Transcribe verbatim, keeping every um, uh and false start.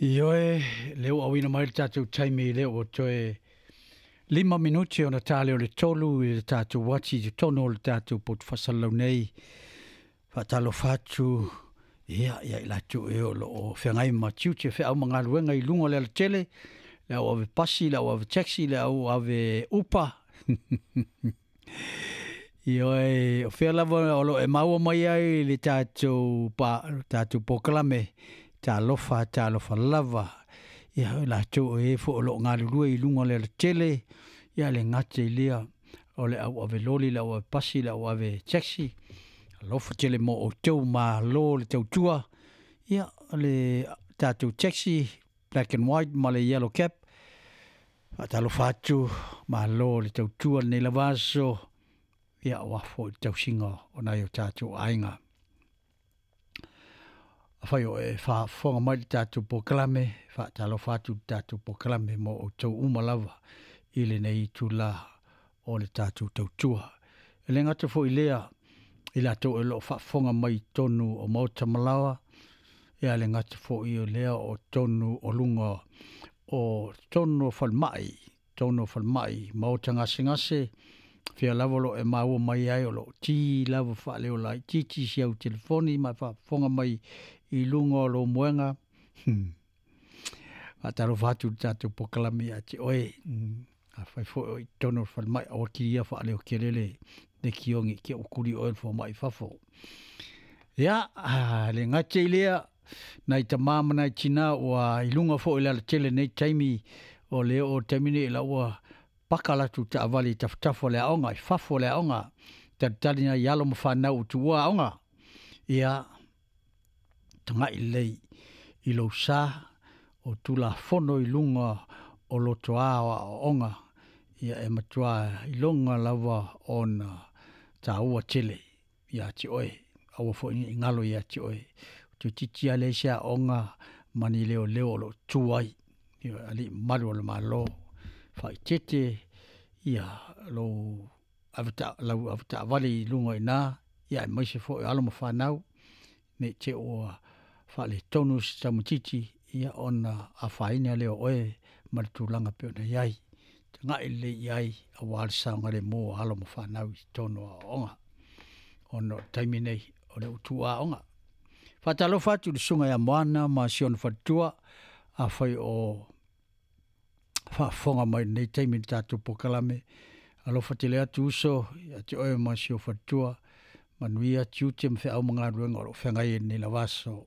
Ioe, le ua auina mai le tatou taimi le ua toe lima minuti ona tale o le tolu i le tatou uati i totonu o le tatou poto faasalalau nei. Faatalofa atu ia ia i latou e o lo o feagai ma tiute feau ma galuega i luga o le alatele, le au ave pasi, le au ave taxi, le au ave upa. Ioe, o fea lava o lo o e maua mai ai le tatou pa, tatou polokalame, talofa, talofa lava. Ia o latou e fo o lo o galulue i luga o le alatele, ia le gata i lea o le au ave loli, le au ave pasi, le au ave taxi. Alofa tele mo outou, malo le tautua. Ia o le tatou taxi black and white ma le yellow cap. Faatalofa atu, malo le tautua lenei lava aso. Ia aua foi le tausiga o nai o tatou aiga. Afai o e faafofoga mai le tatou polokalame, faatalofa atu le tatou polokalame mo outou uma lava i lenei itula o le tatou tautua. E le gata foi lea i latou o lo o faafofoga mai i totonu o maota ma laoa, ia le gata foi o lea o totonu o luga o totonu o falemai, totonu o falemai, maota gasegase, fia lava o lo o e maua mai ai o lo o ki lava faaleo laitiiti si au telefoni ma faafofoga mai i luga o lou moega. Faatalofa atu i le tatou polokalame ia te oe. Afai foi o i totonu o le falemai, aua kilia faaleo tele le le kiogi te ua tuli oe le fomai i fafo. Ia, le gata i lea, nai tama ma nai tina ua i luga foi o le alatele nei taimi, o le oo taimi nei la ua paka latou taavale i tafatafa o le aoga, i fafo o le aoga, talitali nai alo ma fanau ua tuua aoga. Ia, tagai lelei i lou sa o Tulafono i luga o lotoa o aoaoga, ia e matua iloga lava ona taua tele ia te oe, aua foi ne i galo ia te oe. Toeitiiti lava leai se aoga ma ni leoleo o lo o tu ai, ioe, alii mamalu o le Malo, faaeteete ia lou aveta, lau avetaavale i luga i ina, aemaise foi o alo ma fanau, ne i te i ua faaletonu se tamaitiiti, ia ona afaina lea o oe ma le tulaga e pei ona i ai. Tagai lelei i ai aua le saogalemu o alo ma fanau i totonu o aoaoga, ona o le taimi nei o lea ua tuua aoga. Faatalofa atu i le susuga ia Moana ma si ona faletua, afai o faafofoga mai i lenei taimi i le tatou polokalame. Alofa tele atu uso ia te oe ma si ou faletua, manuia tiute ma feau ma galuega o lo o feagai ai i lenei lava aso.